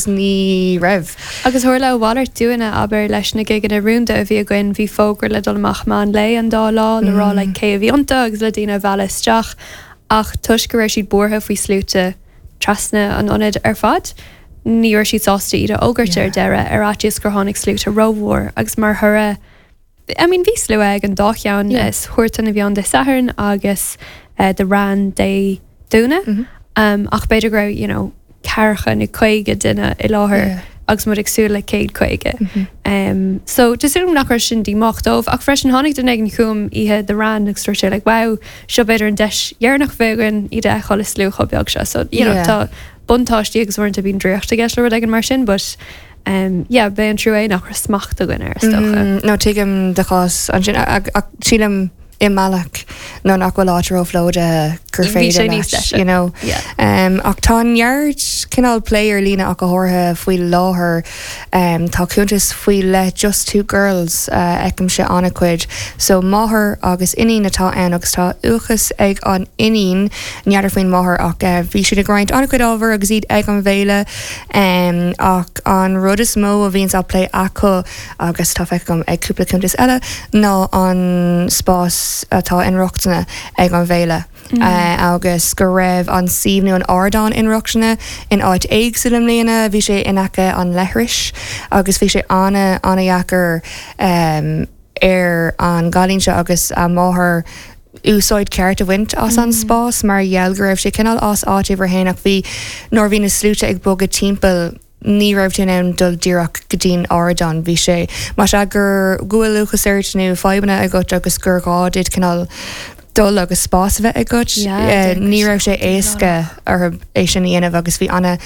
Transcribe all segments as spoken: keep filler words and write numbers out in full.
Ní raibh. Agus tharla a mhalairt dúinne, abair, leis na gigeanna rúnda a bhí againn. Bhí fógra le dul amach meán lae an dá lá le rá like cé a bhí iontu agus le daoine a mhealladh isteach, ach toisc go raibh siad buartha faoi sluaite trasna an ionaid ar fad, ní raibh siad sásta iad a fhógairt ar deireadh, ar fhaitíos gur tháinig sluaite rómhór. Agus mar thoradh, I mean, bhí slua ag an dá cheann, is Huartan a bhí ann Dé Sathairn agus The Wran Dé Domhnaigh, ach b'fhéidir go raibh you know, ceathracha nó caoga duine i láthair agus muid ag súil le céad caoga. Um, so tá súil nach raibh sin díomách dóibh, ach freisin tháinig duine éigin chugam oíche The Wran agus dúirt sé like, "Wow, seo b'fhéidir an deis dheireanach a bheidh againn iad a fheiceáil i slua chomh beag seo." So you know, tá buntáistí agus uaireanta bíonn draíocht i gceist le rud éigin mar sin, but um, yeah, b'é an trua é nach raibh smacht againn air, is dócha. Mm, no tuigim do chás ansin, ach sílim i mbealach nó nach bhfuil áit róphlódaithe gur féidir leis, you know. Um, ach tá neart cineál plé ar líne, ach go háirithe faoi láthair. um, tá cuntas faoi leith, Just Two Girls, uh, feicimse an-chuid. So máthair agus iníon atá ann agus tá uathachas ag an iníon, n'fheadar faoin máthair, ach uh, bhí siad ag roinnt an-chuid ábhar agus iad ag an bhféile, um, ach an rud is mó a bhíonns á plé acu, agus tá feicthe agam ag cúpla cuntas eile, ná an spás atá inrochtana ag an bhféile. Mm. Uh, agus go raibh an suíomh nó an ardán inrochtana in áit éagsúil i mbliana. Bhí sé in aice an leithris agus bhí sé an- an-deacair um, ar an gcailín seo agus a máthair úsáid ceart a bhaint as an mm. spás mar gheall go raibh sé cineál as áit uimhir haon, ach bhí nuair bhí na sluaite ag bogadh timpeall, ní raibh tú in ann dul díreach go dtí'n ardán. Bhí sé mar sé gur go bhfuil uathachas ort nó fadhbanna agat agus gur gá duit cineál dul agus spás a bheith agat, ní raibh sé éasca orthu é sin a dhéanamh agus bhí ana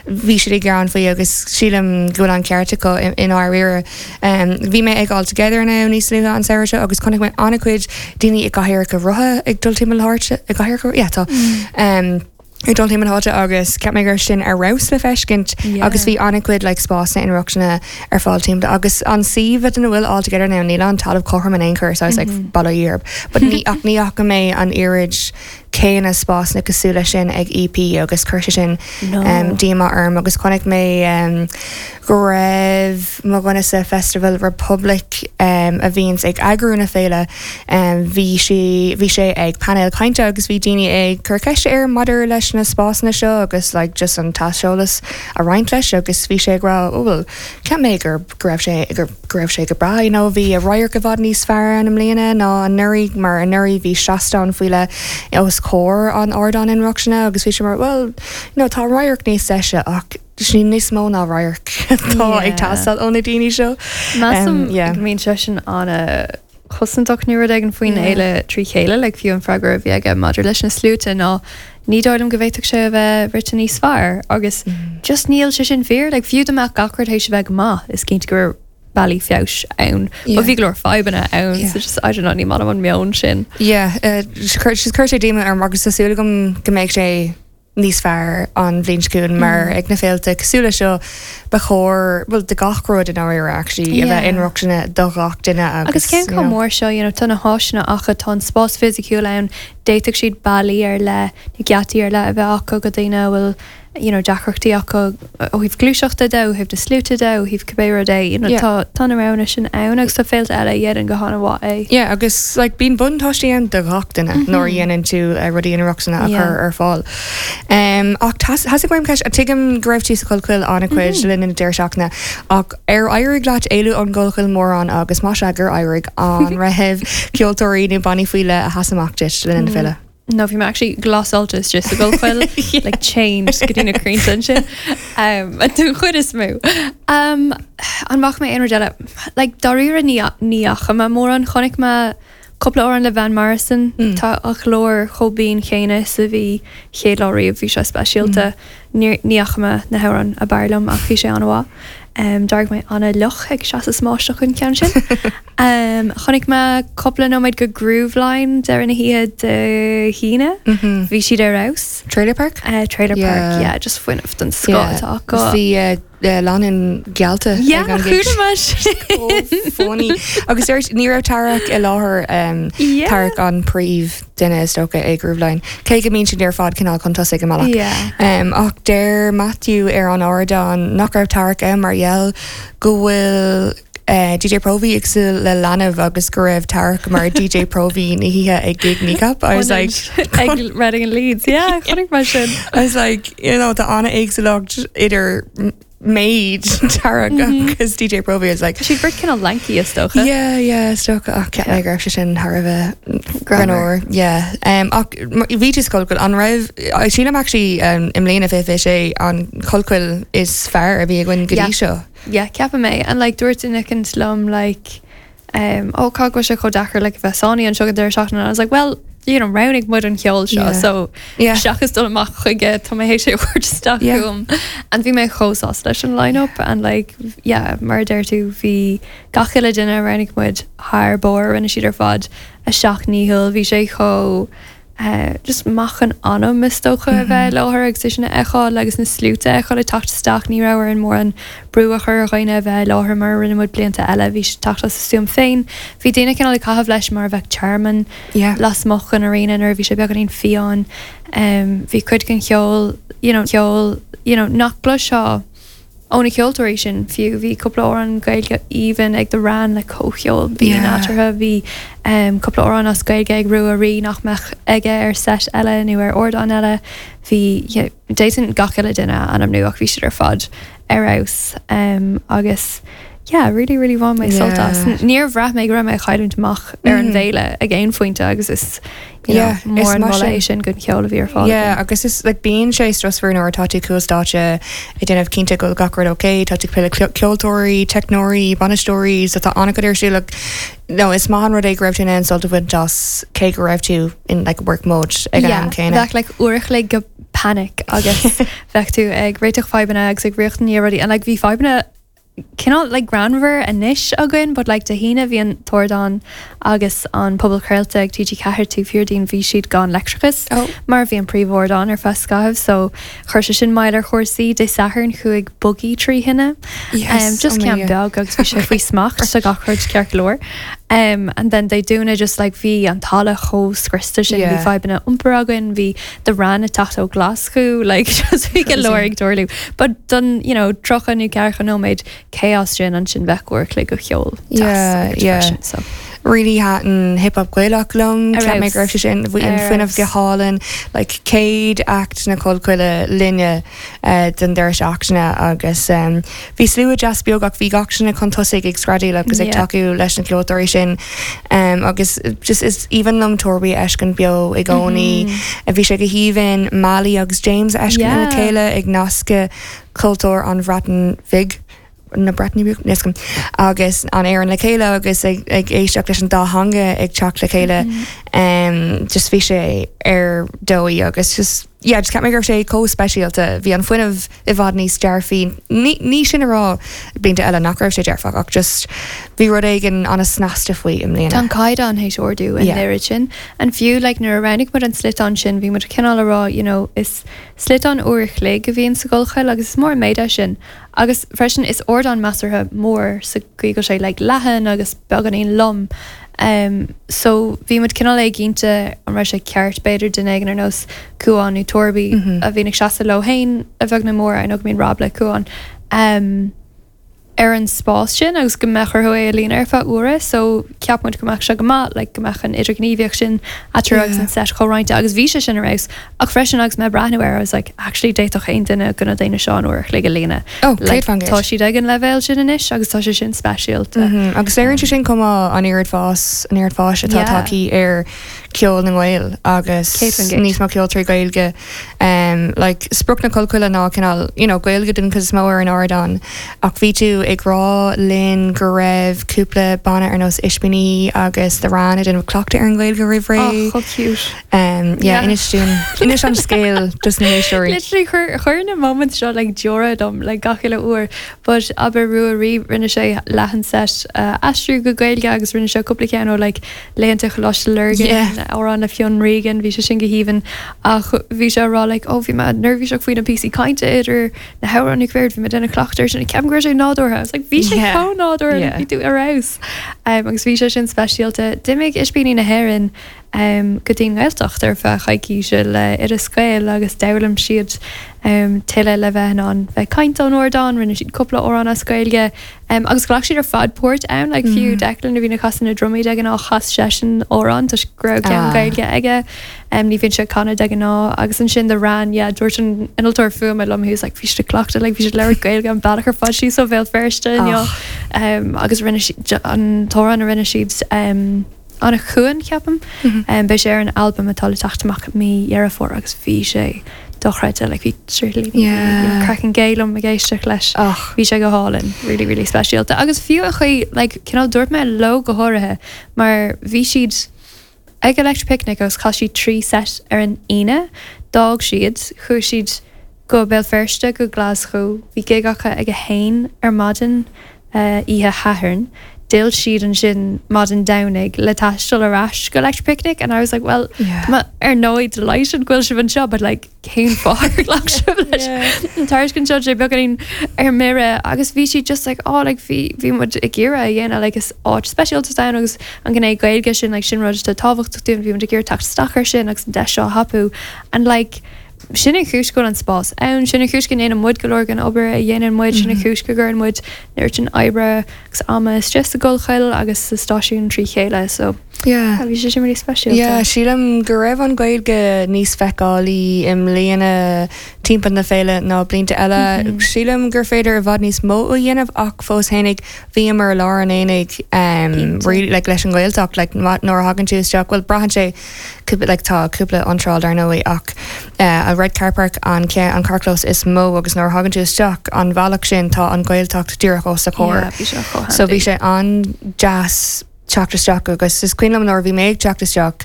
bhí siad ag gearán faoi agus sílim go bhfuil an ceart acu i ndáiríre. Bhí mé ag All Together Now níos luaithe an samhradh seo agus chonaic mé an-chuid daoine i gcathaoireacha rotha ag dul timpeall na háite, i gcathaoireacha, yeah, tá. Um, ag dul timpeall na háite agus cheap mé gur sin ar fheabhas le feiscint agus bhí an-chuid like spásanna inrochtana ar fáil timpeall agus an suíomh ina bhfuil All Together Now, níl an talamh cothrom in aon chor, so I was like, bail ó Dhia orthu, but ní ach ní fhaca mé an oiread céanna spásanna cosúil leis sin ag E P agus chuir sé sin um, díomá orm. Agus chonaic mé um, go raibh mo dhuine sa Festival Republic, um, a bhíonns ag eagrú na féile, um, bhí sé bhí sé ag panel cainte agus bhí daoine ag cur ceiste air maidir leis na spásanna seo agus like, just an t-aiseolas a roinnt leis, agus bhí sé ag rá, "Oh, well, cheap mé gur go raibh sé gur go raibh sé go breá, you know, bhí a radharc i bhfad níos fearr ann i mbliana ná anuraidh, mar anuraidh bhí seastán faoi leith os comhair an ardán inrochtana," agus bhí sé mar, "Well, you know, tá radharc níos deise, ach sin níos mó ná radharc atá ag teastáil ó na daoine seo." Measaim go mbíonn sé sin an-chosantach nó rud éigin faoin fhéile trí chéile, le fiú an freagra a bhí aige maidir leis na sluaite ná "Ní dóigh liom go bhféadfadh sé a bheith rite níos fearr," agus just níl sé sin fíor. Le fiú dá mbeadh gach rud théis a bheith go maith, is cinnte gur bealaí feabhais ann. But bhí go leor fadhbanna ann, so just, I don't know, ní maith liom an meon sin. Yeah, uh, chuir chuir sé díomá orm agus tá súil agam go mbeidh sé níos fearr an bhliain seo chugainn, mar ag na féilte cosúil leis seo ba chóir, well, de gach rud in áirithe actually, a bheith inrochtana do gach duine. Agus cén chomh mór seo, you know, tá na háiseanna acu, tá an spás fisiciúil ann, d'fhéadfadh siad bealaí ar leith nó geataí ar leith a bheith acu go daoine a bhfuil you know, deacrachtaí acu ó thaobh gluaiseachta de, ó thaobh na sluaite de, ó thaobh cibé rud é, you know, Yeah. tá tá na roghanna sin ann agus tá féilte eile a dhéanann go han-mhaith é. Yeah, agus like, bíonn buntáistí ann do gach duine nuair a dhéanann tú uh, rudaí inrochtana a Yeah. chur ar fáil. Um, ach theastaigh uaim ceist, tuigim go raibh tú sa Chollchoill an-chuid le linn na deireadh seachtaine, ach ar éirigh leat éalú ón gCollchoill mórán, agus más ea gur éirigh, an raibh ceoltóirí nó bannaí faoi leith a sheas amach duit le linn na féile? No, bhí mé actually glasáilte istigh sa gCollchoill, like chained go dtí na crainnte ansin. Um, don chuid is mó. Um, an bhfaca mé aon rud eile? Like, dáiríre ní ní fhaca mé mórán. Chonaic mé cúpla amhrán le Van Morrison. Tá a ghlór chomh binn chéanna is a bhí chéad lá riamh, bhí sé speisialta. Ní ní fhaca mé na hamhráin ab fhearr liom, ach bhí sé an-mhaith. Um, D'éirigh mé an-fhliuch ag seasamh sa mbáisteach an ceann sin. um, Chonaic mé cúpla nóiméad de Grooveline deireadh na hoíche Dé hAoine. Bhí siad ar fheabhas. Trailer Park? Uh, trailer Yeah. Park, yeah, just fuinneamh den scoth atá acu. Bhí uh, uh, lánúin geallta Yeah, ag an gig. chuala mé sin. Funny. Agus ar ní raibh Tarek i láthair um, Yeah. Tarek an príomhdhuine is dócha ag Grooveline. Cé go mbíonn siad ar fad cineál chun tosaigh go minic. Yeah. Um, ach deir Matthew ar an ardán nach raibh Tarek ann mar gheall go bhfuil uh, DJ Provi ag súil le leanbh agus go raibh Tarek mar DJ Provi na hoíche ag gig Kneecap. I was like ag Reading and Leeds, yeah, chonaic mé sin. I was like, you know, tá an-éagsúlacht idir méid Tarek agus DJ Provi is like Siad beirt cineál lanky is dócha. Yeah, yeah, is dócha ach ceap mé go raibh sé sin thar a bheith greannmhar. Yeah. Um, ach bhí tú sa Chollchoill an raibh sílim actually um, i mbliana fiche sé an Collchoill is fearr a bhí againn go dtí Yeah. seo. Yeah, ceapaim é and like dúirt duine éicint liom like um, ó cá bhfuil sé chomh deacair like bheith sánaí anseo go deireadh seachtaine and I was like well you know roghnaigh muid an ceol seo Yeah. so Yeah. seachas dul amach chuige tá mé sé isteach Yeah. chugam and bhí mé chomh sásta leis an line-up and like yeah mar a deir tú bhí gach uile duine a roghnaigh muid thar barr rinne siad ar fad a seacht ndícheall bhí sé chomh uh, just maith an anam is dócha a bheith láthair agus é sin a fheiceáil agus na sluaite a fheiceáil ag teacht isteach ní raibh ar an mór an brú a chur ar dhaoine a bheith láthair mar a rinne muid blianta eile bhí siad teacht as a stuaim féin. Bhí daoine cineál ag caitheamh leis mar a bheadh tearmann Yeah. lasmuigh an arena nuair a bhí sé beagáinín fiáin. Um, bhí cuid den cheol you know, ceol you know, nach gcloisfeá ó na ceoltóirí sin fiú bhí cúpla amhrán Gaeilge aoibhinn ag The Ran le comhcheol bhí Yeah. nádúrtha bhí um, cúpla amhrán as Gaeilge ag Rua Rí nach mbeadh aige ar set eile nó ar ardán eile bhí yeah, d'fhéadfainn gach uile duine a ainmniú ach bhí siad ar fad ar fheabhas um, agus yeah, really really bhain mé sult as. Yeah. Níor bhraith mé go raibh mé ag cailliúint amach ar an Mm. bhféile ag aon phointe agus is you know, Yeah, is mór an mar moladh sin. é sin don cheol a bhí ar fáil. Yeah, againn. agus is like bíonn sé stressful nuair atá tú cúl stáitse ag déanamh cinnte go gach rud okay, tá tú ag plé le ceoltóirí, teicneoirí, bainisteoirí, so tá an-chuid ar siúl like, no, is maith an rud é go raibh tú in ann sult a bhaint as cé go raibh tú in like work mode ag an am céanna. Bheadh like uair a chloig go panic agus bheadh tú ag réiteach fadhbanna agus ag riachtaní rudaí and like bhí fadhbanna cineál like greannmhar anois againn, but like Dé hAoine bhí an t-ardán agus an puball craolta ag TG Ceathair taobh thiar dínn bhí siad gan leictreachas Oh. mar bhí an príomhardán ar feadh scaithimh, so chuir sé sin moill ar chúrsaí Dé Sathairn chuaigh buggy trí thine. Yes, um, just oh my ceann God. beag agus bhí sé faoi smacht sa gach rud ceart go leor. Um, and then Dé Domhnaigh just like bhí an talamh chomh scriosta sin bhí Yeah. fadhbanna iompair againn bhí The Ran ag teacht ó Glasgow like just bhí go leor ag tarlú. But don you know tríocha nó ceathracha nóiméad chaos sin ansin bheadh uair a chloig go cheol Yeah, yeah. freisin, so. Really thaitin hip hop Gaelach liom Ar cheap mé go raibh sé sin bhí an Ar fuinneamh go hálainn like céad act na Collchoille linne uh, den deireadh seachtaine agus um, bhí slua deas beag ach bhí gach duine chun tosaigh ag screadaíl agus ag Yeah. tacú leis na ceoltóirí sin um, agus just is aoibhinn liom Torby a fheiscint beo i gcónaí mm. bhí sé go haoibhinn Mali agus James a fheiscint Yeah. le chéile ag nascadh cultúr an Bhreatain Bhig na Breataine Bige agus an Éireann le chéile agus ag, ag éisteacht leis an dá theanga ag teacht le chéile um, just bhí sé ar dóigh agus just yeah, just ceap mé go raibh sé chomh speisialta bhí an fuinneamh i bhfad níos dearfaí ní, ní sin a rá blianta eile nach raibh sé dearfach ach just bhí rud éigin an-snasta faoi i mbliana. Tá an caighdeán théis ardú an Yeah. oiread sin. An fiú like, nuair a roghnaigh muid an sliotán sin bhí muid cineál a rá you know, is sliotán uair a chloig a bhíonn sa gCollchoill agus is mór an méid é sin. Agus freisin is ardán measartha mór sa gcaoi go sé like, leathan agus beagáinín lom. Um, so bhí muid cineál éiginnte an raibh sé ceart b'fhéidir duine éigin ar nós Cuan nó Torby mm Mhm. -hmm. a bhíonn ag seasamh leo féin a bheag nó mór nó go mbíonn Rob le Cuan. Um, ar an spás sin agus go mbeadh orthu é a líonadh ar feadh uaire, so ceap muid go mbeadh sé go maith, like, go mbeadh an idirghníomhaíocht sin eatarthu agus Yeah. an set chomhroinnte agus bhí sé sin ar fheabhas ach freisin agus mé breathnú air I was like actually d'fhéadfadh aon duine de na daoine seo an uair a chloig a líonadh. Oh, Like, céad faoin gcéad. tá siad ag an leibhéal sin anois agus tá sé sin speisialta. Mm -hmm. Agus léiríonn sé sin chomh maith an oiread fás an oiread fáis atá Yeah. tagtha ar ceol na nGael agus Céad faoin gcéad. níos mó ceoltóirí Gaeilge um, like, sprioc na Collchoille ná cineál you know, Gaeilge den chuid is mó ar an ardán ach bhí tú ag rá linn go raibh cúpla banna ar nós Ispíní agus The Rann ag déanamh cleachtadh ar an Ghaeilge roimh ré. Oh, chomh cute. Um, yeah, Yeah. inis dúinn inis an scéal dos na héisteoirí. Literally chuir chuir na moments seo like deora dom like gach uile uair, but abair Ruairí rinne sé leath an set uh, aistriú go Gaeilge agus rinne sé cúpla ceann ó like Laethanta Choláiste Lurgan Yeah. amhrán le Fionn Regan bhí sé sin go haoibhinn ach bhí sé rá like oh bhí mé neirbhíseach faoi na píosaí cainte idir na hamhráin bhí mé ag déanamh cleachtadh sin ceapaim go raibh sé nádúrtha It's like bhí sé Yeah. chomh nádúrtha Yeah. bhí tú ar fheabhas um, agus bhí sé sin speisialta d'imigh Ispíní na hÉireann um, go dtí an Ghaeltacht ar feadh coicíse le Oideas Gael agus d'fhoghlaim siad um, tuilleadh le bheith an bheith caint ón ardán, rinne siad cúpla amhrán as Gaeilge um, agus ghlac siad ar fad páirt ann like, fiú Mm. Declan a bhí ag casadh na drumaí de ghnáth chas seisean amhrán tá go raibh ceann Ah. Gaeilge aige um, ní bhíonn sé ag canadh de ghnáth agus ansin The Rann yeah, dúirt an innealtóir fuaime liom he was like bhí siad ag cleachtadh like, bhí siad ag labhairt Gaeilge an bealach ar fad sí so Bhéal Feirste Oh. um, agus rinne siad an t-amhrán a rinne siad um, an chuan ceapaim Mhm. um, beidh sé ar an album atá le teacht amach mí Dheireadh Fómhair agus bhí sé dochreidte like bhí Yeah. craiceann géim ag éisteacht leis. Och. Bhí sé go hálainn really really speisialta agus fiú a chuí like, cineál dúirt mé leo go háirithe mar bhí siad ag Electric Picnic agus chaith siad trí set ar an Aoine, d'fhág siad chuaigh siad go Béal Feirste go Glasgow, bhí gig acu ag a haon ar maidin uh, oíche Shathairn. D'fhill siad ansin maidin Domhnaigh le taisteal ar ais go Electric Picnic and I was like well Yeah. ma ar ndóigh delighted go bhfuil sibh anseo but like cén fáth ar ghlac sibh leis an tairiscint seo sé beagáinín ar mire agus bhí siad just like oh like bhí bhí muid ag iarraidh a dhéanamh like is áit speisialta ann agus an gné Gaeilge sin like sin rud atá tábhachtach dúinn bhí muid ag iarraidh teacht isteach ar sin agus an deis seo a thapú and like sin an chúis go bhfuil an spás ann sin an chúis go ndéanann muid go leor den obair a dhéanann muid sin an chúis go gcuireann muid an oiread sin oibre agus ama isteach sa Collchoill agus sa stáisiún trí chéile so Yeah. bhí sé sin really speisialta. Yeah, sílim go raibh an Ghaeilge níos feiceálaí i mbliana timpeall na féile ná blianta eile. Mhm. Sílim gur féidir i bhfad níos mó a dhéanamh ach fós féinig bhíomar i lár an aonaigh um, Cinnte. really, like, leis an Ghaeltacht like, ma- nuair a thagann tú isteach well braitheann sé cúpla like, tá cúpla iontráil dar ndóigh ach uh, a Red Car Park an ce an carrchlós is mó agus nuair a thagann tú isteach an bhealach sin tá an Ghaeltacht díreach os do chomhair. Yeah, bhí sé chomh So bhí handy. sé an-deas teacht isteach agus is cuimhin liom nuair a bhí mé ag teacht isteach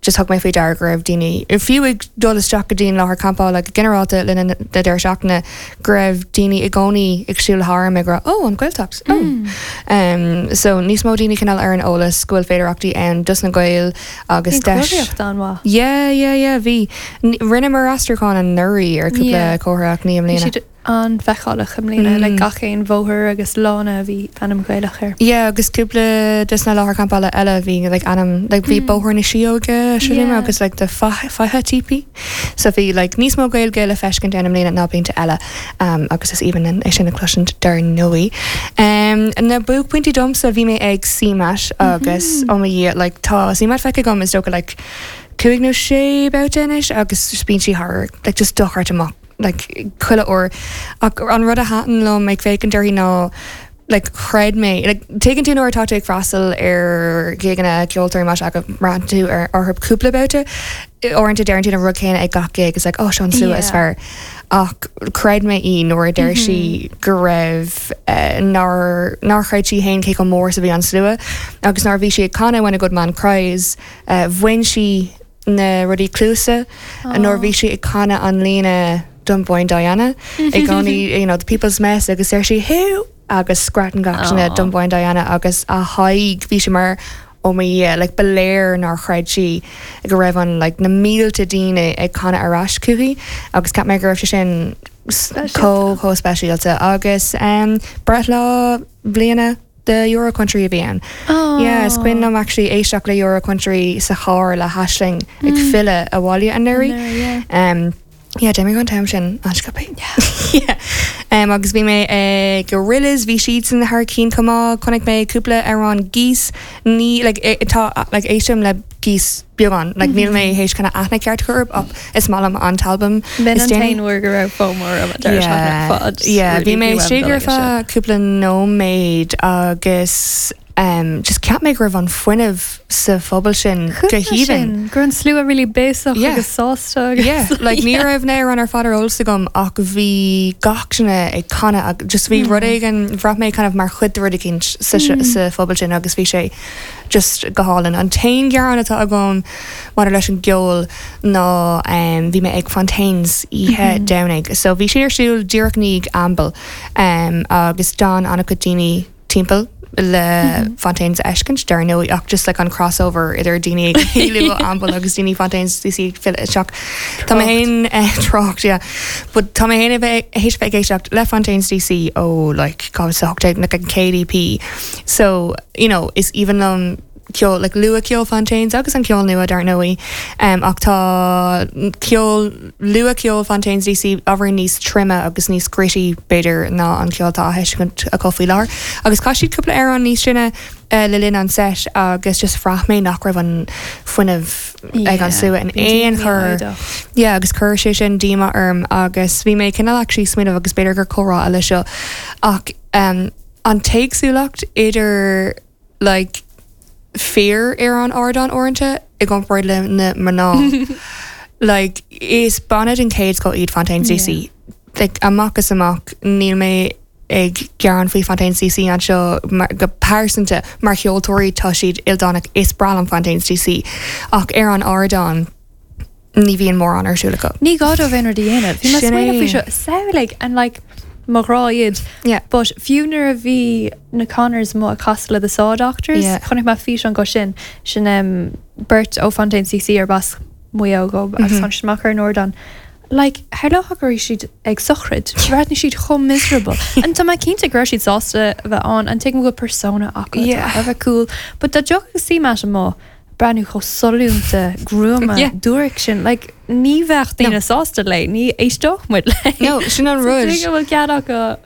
just thug mé faoi deara go raibh daoine fiú ag dul isteach go dtí an láthair campála go ginearálta le na deireadh seachtaine go raibh daoine i gcónaí ag siúl tharam ag rá ó an Ghaeltacht oh. Mm. Um, so níos mó daoine cineál ar an eolas go bhfuil féidearthachtaí ann dos na Gaeil agus Bhí deis. comharthaíocht an-mhaith. Yeah, yeah, yeah, bhí rinneamar aistriúchán anuraidh ar cúpla Yeah. comhartha ach ní i Bhí mbliana. siad an-fheiceálach i mbliana le Mm. gach aon bhóthar agus lána bhí ainm Gaelach air. Yeah, agus cúpla des na láthair campála eile bhí like ainm like bhí Mm. bóthar na Síóige sin Yeah. agus like the Faiche Teepee. So bhí like níos mó Gaeilge le feiscint ann i mbliana ná blianta eile um, agus is aoibhinn é sin a chloisint dar ndóigh. Um, na buaicphointí domsa bhí mé ag CMAT agus Mhm. ó mo Dhia like tá CMAT feicthe agam is dócha like cúig nó sé babhta anois agus just bíonn sí thar like just dochreidte amach like chuile uair ach an rud a thaitin liom ag féachaint uirthi ná like chreid mé like tuigeann tú nuair atá tú ag freastal ar gigeanna ceoltóirí mar go mbraitheann tú ar orthu cúpla babhta uaireanta deireann tú an rud céanna ag gach gig is like oh seo an slua is Yeah. fearr ach chreid mé í nuair a deir sí go raibh uh, nár nár chreid sí féin cé chomh mór is a bhí an slua agus nuair a bhí sí ag canadh when a good man cries uh, bhain sí na rudaí cluaise nuair bhí sí ag canadh an líne Dunboyne Diana i gcónaí you know, the people's mess agus deir sí who agus screadann gach duine Aw. Dunboyne Diana agus a haghaidh bhí sé mar ó mo Dhia like ba léir nár chreid sí go raibh an like na mílte daoine ag canadh ar ais chuici agus cheap mé go raibh sé sin s- Speisialta. chomh chomh speisialta agus um, breithlá bliana the Euro Country a bhí ann. Yeah, is cuimhin liom actually éisteacht le Euro Country sa charr le hAisling ag Mm. filleadh abhaile anuraidh. Yeah. Um, yeah, d'imigh an t-am sin an-sciobtha. Yeah. Um, agus bhí mé ag Gorillaz bhí siad san thar cinn chomh maith chonaic mé cúpla amhrán Geese ní like, e- tá like, éistim le Geese beagán like, níl mé théis chuna aithne ceart chur ach is maith liom an t-albam B'in is an déanaí. t-aon uair go raibh FOMO orm an deireadh seachtaine ar fad. Yeah, bhí Really mé bhí uaim istigh dul ar aige sin. feadh cúpla nóiméad agus um, just cheap mé go raibh an fuinneamh sa phobal sin go haoibhinn. Gur an slua really béasach Yeah. agus sásta agus Yeah, like ní raibh na hamhráin ar fad ar eolas agam ach bhí gach duine ag canadh ag just bhí rud éigin bhraith mé kind of mar chuid de rud éigin sa mm. sa phobal sin agus bhí sé just go hálainn. An t-aon ghearán atá agam maidir leis an gceol ná um, bhí mé ag Fontaines oíche Domhnaigh. So bhí sé ar siúl díreach i ndiaidh Amble um, agus d'fhan an-chuid daoine timpeall le Fontaines a fheiscint dar ndóigh ach just like an crossover idir daoine ag Amble agus daoine Fontaines D C fil seach. Tá mé féin trácht, yeah. But tá mé féin a bheith théis bheith ag éisteacht le Fontaines D C ó like dhá mhíle a hocht déag na an K D P. So you know, is aoibhinn liom ceol like luathcheol Fontaines agus an ceol nua dar ndóigh um, ach tá ceol luathcheol Fontaines D C ábhar níos troime agus níos gritty b'fhéidir ná an ceol atá acu faoi láthair. Agus chaith siad cúpla amhrán níos sine uh, le linn an set agus just bhraith mé nach raibh an fuinneamh ag an slua in aon chor. Yeah, agus chuir sé sin díomá orm agus bhí mé cineál actually smaoineamh agus b'fhéidir gur comhrá eile seo ach um, an t-éagsúlacht idir like, fir ar an ardán uaireanta i gcomparáid le na mná. Like, is banna den chéad scoth iad Fontaines D C. Like, amach is amach níl mé ag gearán faoi Fontaines D C anseo mar, go pearsanta mar cheoltóirí tá siad ildánach is breá liom Fontaines D C ach ar an ardán ní bhíonn mórán ar siúl acu. Ní gá dóibh aon rud a dhéanamh. Bhí mé Sin smaoineamh faoi é. seo samhlaigh and like mo ghrá iad. Yeah. But fiú nuair a bhí na Connors amuigh ag casadh le the Saw Doctors, Yeah. chonaic mé físeán go sin sin um, beirt ó Fontaines D C ar bas Maigh Eo go agus mm -hmm. amach ar an ardán. Like, tharlódh go raibh siad ag sochraid, bhreathnaigh siad chomh miserable. An tá mé cinnte go raibh siad sásta a bheith ann an tuigim go persona acu Yeah. a bheith cool, but dá dtiocfadh C-Matt amuigh breathnú chomh sollúnta gruama Yeah. dúric sin, like, ní bheadh daoine sásta léi, ní éisteodh muid léi. No, sin an rud. So bhfuil cead acu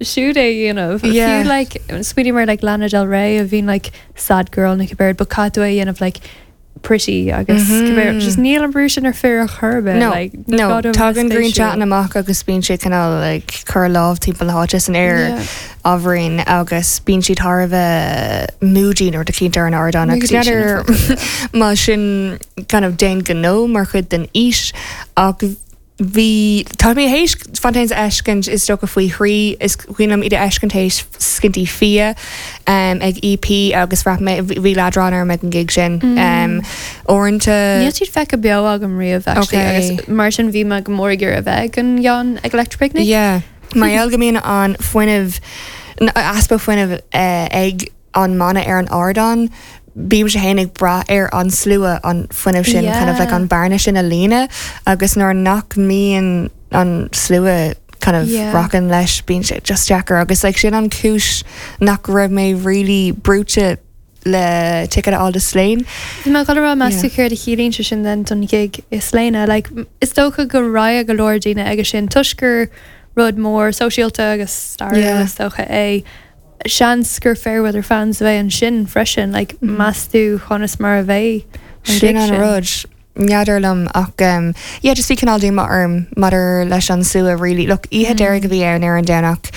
siúd é dhéanamh. Yeah. Fiú like smaoiním ar like Lana Del Rey a bhíonn like sad girl na cibé, but cad é dhéanamh like pretty agus mm Mhm. -hmm. just níl an brú sin ar fir a churbe No, like, ní no, gá dóibh tagann bheith Green spéisiúil. Chatting amach agus bíonn sé cineál like, cur lámh timpeall na háite san aer Yeah. ábhairín agus bíonn siad thar a bheith moody nuair eicínt ar an ardán agus Moody sin n'fheadar má sin kind of déan gnó mar chuid den fhís ach bhí tá mé théis Fontaines a fheiscint is dócha faoi thrí is cuimhin liom iad a fheiscint théis scinntí fia um, ag E P agus bhraith mé bhí leadrán orm ag an gig sin um, uaireanta Níl siad feicthe beo agam riamh actually Okay. agus mar sin bhí mé go mór ag iarraidh a bheith ag an gceann ag Electric Picnic. Yeah. Mar gheall go mbíonn an fuinneamh easpa fuinnimh uh, ag an mbanna ar an ardán, bím sé féin ag brath ar an slua an fuinneamh sin Yeah. kind of like an bearna sin a líonadh agus nuair nach mbíonn an slua kind of Yeah. rocking leis bíonn sé just deacair agus like sin an cúis nach raibh mé really brúite le ticket a fháil do Slane. Bhí mé rá meas tú Yeah. céard a chiallaíonn sé sin den don gig i Slane, like, is dócha go raibh go leor daoine aige sin toisc gur rud mór sóisialta agus stairiúil Yeah. is dócha é. Seans gur Fairweather fans a bheidh ansin freisin, like, mm. meas tú conas mar a bheidh an Sin gig an sin. rud. N'fheadar liom ach um, yeah, just bhí cineál díomá orm maidir leis an slua really. Look, oíche deiridh a bhí ann ar an Domhnach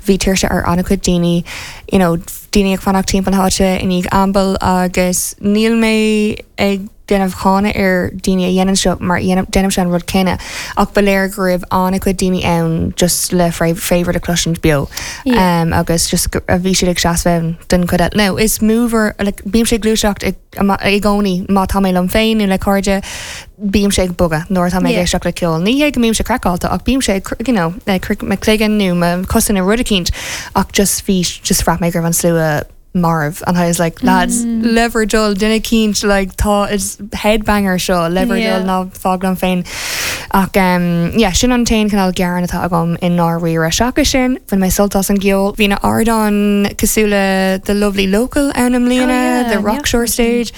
bhí tuirse ar an-chuid daoine, you know, daoine ag fanacht timpeall na háite i ndiaidh Amble agus níl mé ag déanamh cáineadh ar daoine a dhéanann seo mar déanaim sé an rud céanna ach ba léir go raibh an-chuid daoine ann just le Favourite a chloisint beo. Yeah. Um, agus just go- a bhí siad ag seasamh den chuid eile. Now, is mover like, bímse ag gluaiseacht ag i gcónaí má tá mé liom féin nó le cairde bímse ag bogadh nuair tá mé Yeah. ag éisteacht le ceol. Ní hé go mbímse craiceáilte ach bímse ag you know, ag croitheadh mo chloigeann nó mo cosa nó rud eicínt ach just bhí just bhraith mé go raibh an slua marbh and I was like lads mm. le bhur dtoil duine eicínt like tá is headbanger seo le bhur dtoil Yeah. ná fág liom féin ach um, yeah, sin an t-aon cineál gearán atá agam i ndáiríre seachas sin bhain mé sult as an gceol bhí na hardáin cosúil le the Lovely Local ann i mbliana Oh, yeah, the Rockshore stage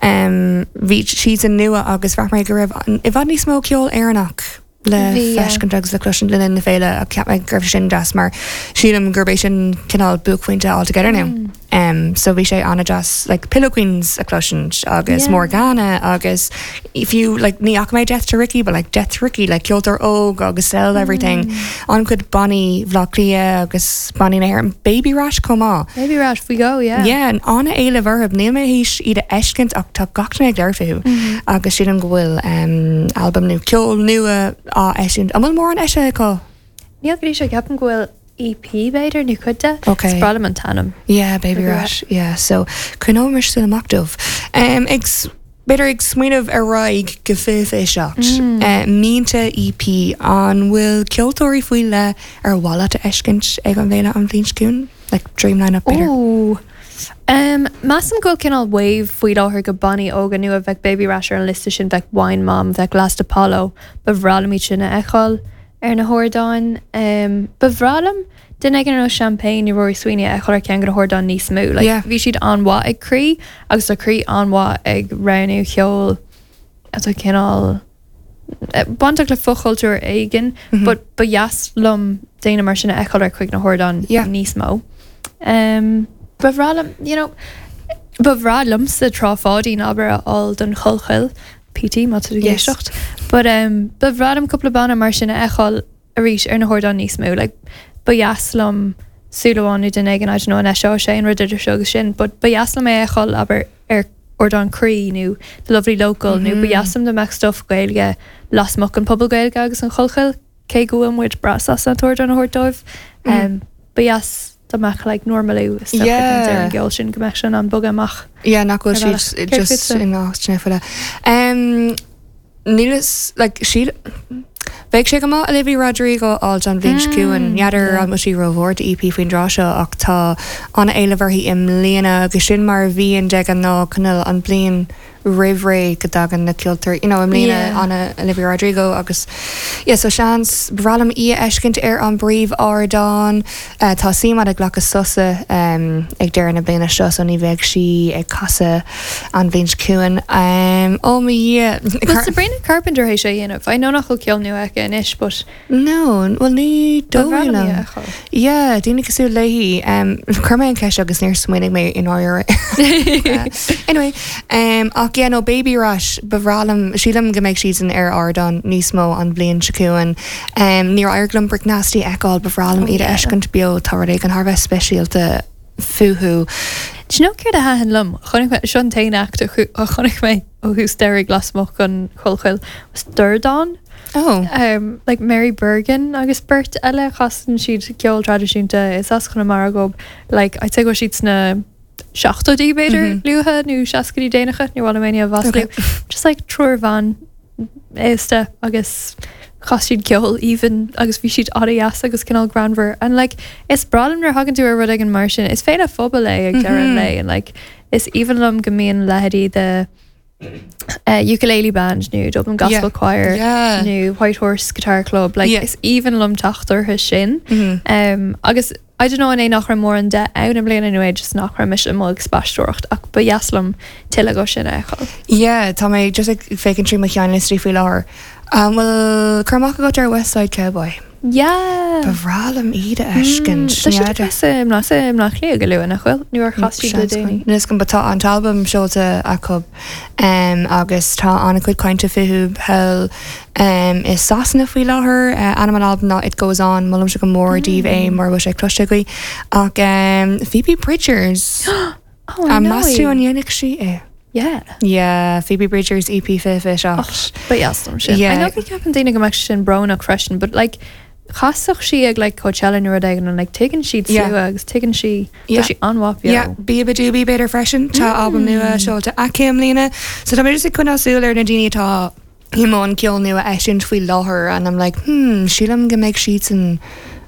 um, bhí siad an nua agus bhraith mé go raibh i bhfad níos mó ceol Éireannach le Bhí, yeah. feiscint agus le cloisint le na féile a cheap mé go raibh sin deas mar sílim gurb é sin cineál buaicphointe All Together Now. Mm. Um, so bhí sé an-deas like Pillow Queens a chloisint agus Yeah. Morgana agus fiú like ní fhaca mé Death to Ricky but like Death to Ricky like ceoltóir óg agus sell everything an-chuid bannaí Bhaile Átha Cliath agus bannaí na hÉireann Baby Rash chomh maith. Baby Rash we go yeah. Yeah, an an-éileamh orthu níl mé théis iad a fheiscint ach tá gach duine ag labhairt fúthu agus sílim go bhfuil um, album nó ceol nua á eisiúint. An bhfuil mórán eisithe acu? Níl go dtí seo ceapaim go bhfuil EP b'fhéidir nó cuid de. Okay. Is breá liom an t-ainm. Yeah, Baby Baby Rash. Yeah, so coinneoidh súil amach dóibh. Um, ag s- B'fhéidir ag smaoineamh ar aghaidh go fiche fiche seacht. Mm. Uh, Mínte EP an bhfuil ceoltóirí faoi leith ar mhaith leat a fheiscint ag an bhféile an bhliain seo chugainn? Like Dream Line-up b'fhéidir. Ooh. Um, Measaim go bhfuil cineál wave faoi láthair go bannaí óga nua bheadh Baby Rash ar an liosta sin bheadh Wine Mom, bheadh Last Apollo, ba bhreá liom iad sin a fheiceáil ar na hardáin. Um, ba bhreá liom duine éigin ar nós Champagne nó Rory Sweeney a fheiceáil ar ceann de na hardáin níos mó. Like, Yeah. Bhí siad an-mhaith ag Croí agus tá Croí an-mhaith ag roghnú ceol atá cineál eh, bainteach le fochultúr éigin, Mhm. but ba dheas liom daoine mar sin a fheiceáil ar chuig na hardáin Yeah. níos mó. Um, ba bhreá liom, you know, ba bhreá liomsa Trá Pháidín abair a fháil don Chollchoill PT má tú Yes. géisteacht. But um, ba bhreá liom cúpla banna mar sin a fheiceáil arís ar na hardáin níos mó, like, ba dheas liom súil amháin nó duine éigin I don't know an seo sé an rud idir seo agus sin, but ba dheas liom é a fheiceáil abair ar ardán Croí nó The Lovely Local mm -hmm. nó ba dheas liom dá mbeadh stuff Gaeilge lasmuigh an Puball Gaeilge agus an Chollchoill cé go bhfuil muid breá sásta an t-ardán a thabhairt dóibh. Um, ba dheas dá mbeadh like normalú Yeah. ar an gceol sin go mbeadh sin an bogadh amach. Yeah, nach bhfuil Ar bhealach. siad Céard just fútsa? in áit file. Um, Níl like sí Bheadh sé go maith Olivia Rodrigo á an bhliain seo chugainn n'fheadar yeah. an bhfuil sí rómhór do EP faoin dtráth seo ach tá an-éileamh uirthi i mbliana agus sin mar a bhíonn de ghnáth cineál an bhliain roimh ré go dtagann na ceoltóirí you know, i mbliana Yeah. ana Olivia Rodrigo agus yeah, so seans ba bhreá liom í a fheiscint ar an bpríomhardán uh, tá CMAD ag glacadh sosa um, ag deireadh na bliana seo so ní bheidh sí ag casadh an bhliain seo chugainn um, ó mo Dhia Well, Sabrina Carpenter é sé dhéanamh. I know nach bhfuil ceol nua aici anois, but No, well ní ba bhreá liom í dóigh a fheiceáil. Yeah, daoine cosúil léi um, chuir mé an ceist agus níor smaoinigh mé in áir Anyway, um, ach yeah, no Baby Rash ba bhreá liom sílim go mbeidh siad san ar ardán níos mó an bhliain seo chugainn. Um, níor éirigh liom Brick Nasty a fheiceáil ba bhreá liom Oh, iad a yeah. fheiscint beo tá rud éigin thar bheith speisialta fúthu. Do you know céard a thaitin liom? Chonaic mé sin t-aon act a chu- a chonaic mé ó thús deireadh lasmuigh an Chollchoill was Dordán. Oh, Um, like Mary Bergin agus beirt eile chasann siad ceol traidisiúnta is as Conamara dóibh like I'd say go siad sna seachtóidí b'fhéidir Mhm. luatha nó seascaidí déanacha ní bhfuil mé bhasú just like triúr bhan aosta agus chas siad ceol even agus bhí siad an-deas agus cineál greannmhar and like is breá liom nuair a thagann tú ar rud éigin mar sin is féile phobail é ag deireadh an Mhm. lae and like is aoibhinn liom go mbíonn leithéidí the uh, ukulele band nó Dublin Gospel Yeah. Choir Yeah. nó White Horse Guitar Club like Yeah. is aoibhinn liom teacht orthu sin Mhm. um, agus I don't know an é nach raibh mórán de ann i mbliana nó é just nach raibh mise amuigh ag spaisteoireacht ach ba dheas liom tuilleadh de sin a fheiceáil. Yeah, tá mé just ag féachaint trí mo sheanliostaí faoi láthair. Um, well cur amach agat ar West Side Cowboy. Yeah. Ba bhreá liom iad a fheiscint. Tá siad im im nach lé go luath nach bhfuil nuair chas siad le déanaí. Níos go tá an t-albam seolta acu um, agus tá an-chuid cainte fúthu thall um, i Sasana faoi láthair uh, ainm an albam ná It Goes On molaimse go mór daoibh é mar bhfuil sé cloiste agaibh ach um, Phoebe Bridgers Oh, I a know meas tú í. an ndéanfaidh sí é. Yeah. Yeah, Phoebe Bridgers EP fiche fiche seacht. Ba dheas liom sin. Yeah. I know go ceapann daoine go mbeadh sin brónach freisin, but like chasfadh sí ag like Coachella nó rud éigin and like tuigeann siad Yeah. slua agus tuigeann sí Yeah. tá sí an-mhaith beo. Yeah, Beabadoobee b'fhéidir freisin tá albam nua seolta aici i mbliana. So tá mé just ag coinneáil súil ar na daoine atá i mbun ceol nua eisiúint faoi láthair and I'm like, hmm, sílim go mbeidh siad san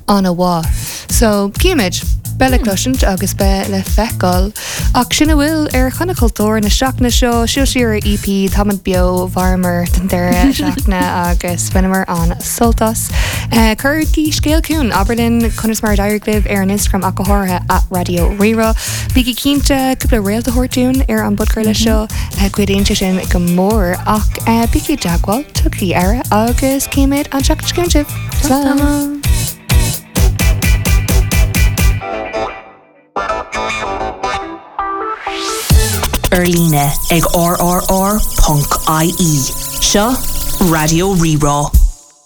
an-mhaith. So címid Beidh le cloisint agus beidh le feiceáil ach sin a bhfuil ar Chonradh Cultúir na seachtaine seo siúl siar ar EP Táimid beo mhaireamar den deireadh seachtaine agus bhaineamar an-sult as. Uh, Cuirigí scéal chugainn abair linn conas mar a d'éirigh libh ar an Instagram ach go háirithe at Radio Rí-Rá. Bígí cinnte cúpla réalta a thabhairt dúinn ar an bpodchraoladh seo cuidíonn sé sin go mór ach uh, bígí i dteagmháil tugaigí aire agus címid an tseachtain seo chugainn sibh. Slán. Slán. ar líne ag rrr.ie. Seo Raidió Rí-Rá.